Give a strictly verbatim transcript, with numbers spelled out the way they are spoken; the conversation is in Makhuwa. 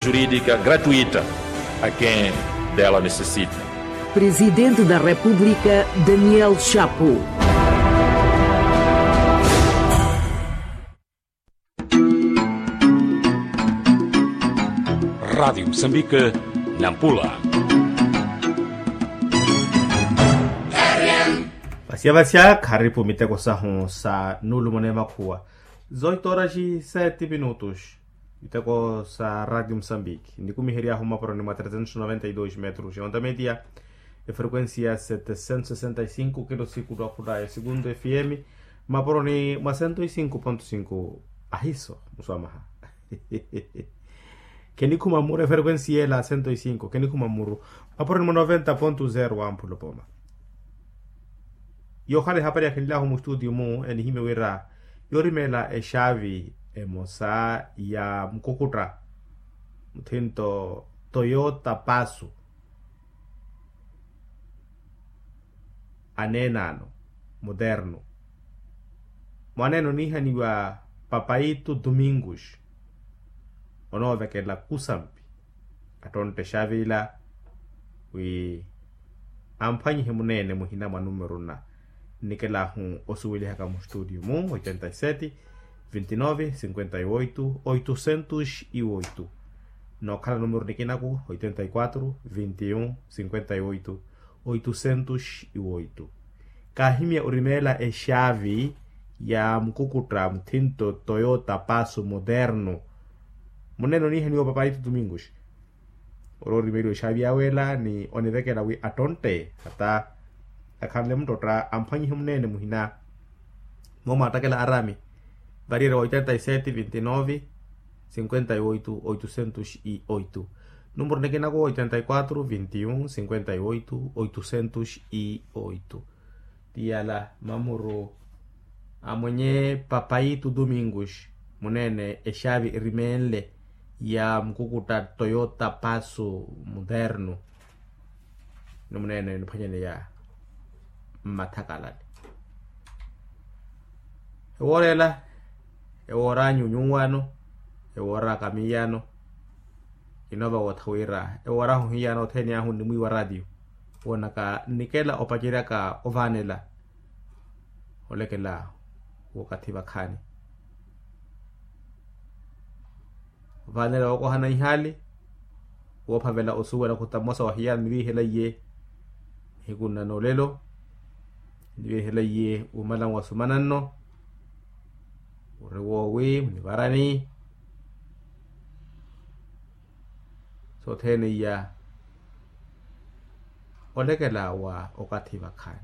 Jurídica gratuita a quem dela necessita. Presidente da República, Daniel Chapo. Rádio Moçambique, Nampula. Vasya vasya kharipu miteko sahu sa nulumone makhuwa. Zoito horas e sete minutos. Miteko sa Rádio Moçambique. Nikumihery'ahu mmaporoni mwa trezentos noventa e dois metros ya onda media, efrequencia setecentos sessenta e cinco kilo siku twakhula ya segundo F M, mmaporoni mwa cento e cinco ponto cinco. Ahiso muswamaha. Khenikhuma mmuru efrequencia ela cento e cinco, khenikhuma mmuru. Mmaporoni mwa noventa ponto zero wa mpulopoma. Yoohala ehapari ya khinly'ahu mustutio-mu enihimye wira yoorimeela exaavi emosa ya mukukutta muthinto toyota pasu, aneenaano muternu. Mwaneene oniihaniwa papaitu domingus onoovekela kusampi. Attontte exaavi ila wi amphwanyihe muneene muhina mwa numero nna. Nnikel'ahu osuwelihaka mustutio-mu oitenta e sete, vintinove cinquenta e oito oitocentos e oito. Nookhala numero nikinaku oitenta e quatro vintiun cinquenta e oito oitocentos e oito. Kaahimya orimeela exaavi ya mukukutta muthinto toyota pasu moderno. Muneene oniihaniwa papaitu domingus ori orimeliwa exaavi yawe ela ni onivekela wi attontte hata akhanle muttotta amphwanyihe muneene muhina. Mooma attakela arami variyerya wa oitenta e sete vintinove cinquenta e oito oitocentos e oito. Numero nikinaku oitenta e quatro vintiun cinquenta e oito oitocentos e oito. Tiyala mamuru amwenye papaitu domingus muneene exaavi erimeenle ya mukukutta toyota pasu moderno. Ni muneene eniphwanyaneya mmathakalale. Ewoora ela ewoor'anyu nyuwaano, ewoor'aka miyaano. Kinoova wootha wira ewoor'ahu hiyaano othene ahu nnimwiiwa ratio woonaka nnikela opaceryaka ovaanela olekela wookathi vakhaani. Ovaanela wookohana ihaali woophavela osuwela khuta mmosa wa hiyaano niviihela iye nihiku nna noolelo. Niviihela iye wumala nwasumana nno ori woowi munivarani. Sothene iya olekela wa okathi vakhaani.